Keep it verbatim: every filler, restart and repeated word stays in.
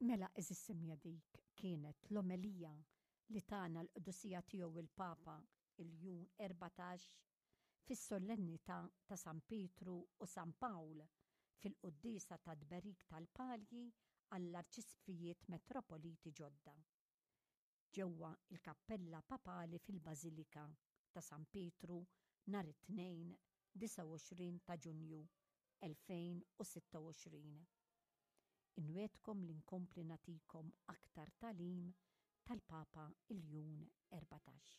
Mela, għeżież semmiegħa, dik kienet l-omelija li tana l-Qdusija Tiegħu il-Papa Iljun Erbatax fis-sollennità ta' San Pietru u San Pawl fil-quddiesa ta' tberik tal-palji għall-arċisqfijiet metropoliti ġodda ġewwa il-Kappella Papali fil-Bażilika ta' San Pietru nhar it-Tnejn disgħa u għoxrin ta' Ġunju elfejn u sitta u għoxrin. Inwegħedkom li nkompli nagħtikom aktar tagħlim tal-Papa Iljun Erbatax.